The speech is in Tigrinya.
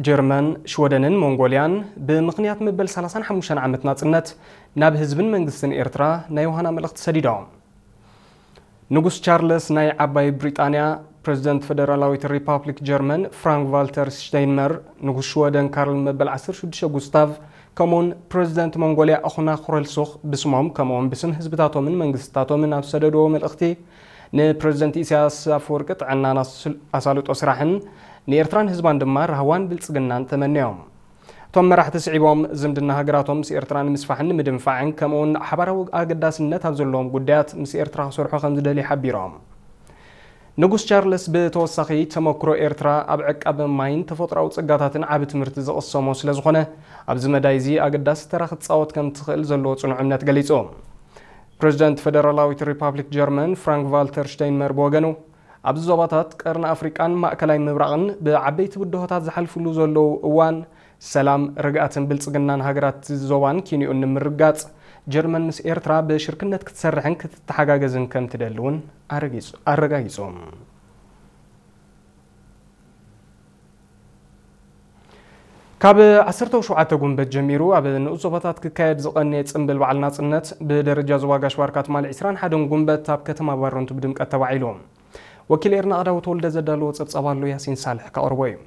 ጀርመን፣ ሽወደንን ሞንጎልያን ብምኽንያት መበል ሰላሳን ሓሙሽተን ዓመት ናጽነት ናብ ህዝብን መንግስትን ኤርትራ ናይ ዮሃና መልእኽቲ ሰዲዶም። ንጉስ ቻርለስ ናይ ዓባይ ብሪጣንያ፣ ፕረዚደንት ፈደራላዊት ሪፓብሊክ ጀርመን ፍራንክ ቫልተር ሽተይንመር፣ ንጉስ ሽወደን ካርል መበል ዓሰርተ ሽዱሽተ ጉስታቭ፣ ከምኡውን ፕረዚደንት ሞንጎልያ ኣኹና ኩረልሱኽ ብስሞም ከምኡውን ብስም ህዝብታቶምን መንግስታቶምን ኣብ ሰደድዎ መልእኽቲ፣ ንፕረዚደንት ኢሳያስ ኣፈወርቂ ጥዕናን ኣሳልጦ ስራሕን ንኤርትራን ህዝባን ድማ ራህዋን ብልጽግናን ተመንዮም። እቶም መራሕቲ ስዒቦም ዝምድና ሃገራቶም ምስ ኤርትራ ንምስፋሕን ንምድንፋዕን ከምኡውን ሓባራዊ ኣገዳስነት ኣብ ዘለዎም ጉዳያት ምስ ኤርትራ ክሰርሑ ከም ዝደልዩ ሓቢሮም። ንጉስ ቻርለስ ብተወሳኺ ተመክሮ ኤርትራ ኣብ ዕቃበ ማይን ተፈጥሮኣዊ ጸጋታትን ዓቢ ትምህርቲ ዝቕሰሞ ስለ ዝኾነ ኣብዚ መዳይ እዚ ኣገዳሲ ተራ ክትጻወት ከም ትኽእል ዘለዎ ጽኑዕ እምነት ገሊጹ። ፕረዚደንት ፈደራላዊት ሪፓብሊክ ጀርመን ፍራንክ ቫልተር ሽተይንመር ብወገኑ ኣብዚ ዞባታት ቀርኒ ኣፍሪቃን ማእከላይ ምብራቕን ብዓበይቲ ብድሆታት ዝሓልፍሉ ዘለዉ እዋን ሰላም፣ ርግኣትን ብልጽግናን ሃገራት ዞባን ኪንኡን ንምርጋጽ ጀርመን ምስ ኤርትራ ብሽርክነት ክትሰርሕን ክትተሓጋገዝን ከም ትደሊ እውን ኣረጋጊጹ። ካብ ዓሰርተ ሸውዓተ ጉንበት ጀሚሩ ኣብ ንኡስ ዞባታት ክካየድ ዝቐነየ ጽምብል በዓል ናጽነት ብደረጃ ዞባ ጋሽ ባርካ ትማሊ ዕስራን ሓደን ጉንበት ኣብ ከተማ ባረንቱ ብድምቀት ተባዒሉ። ወኪል ኤርና ኣዳው ተወልደ ዘዳለዎ ጸብጻብ ኣሎ፣ ያሲን ሳልሕ ከቕርቦ እዩ።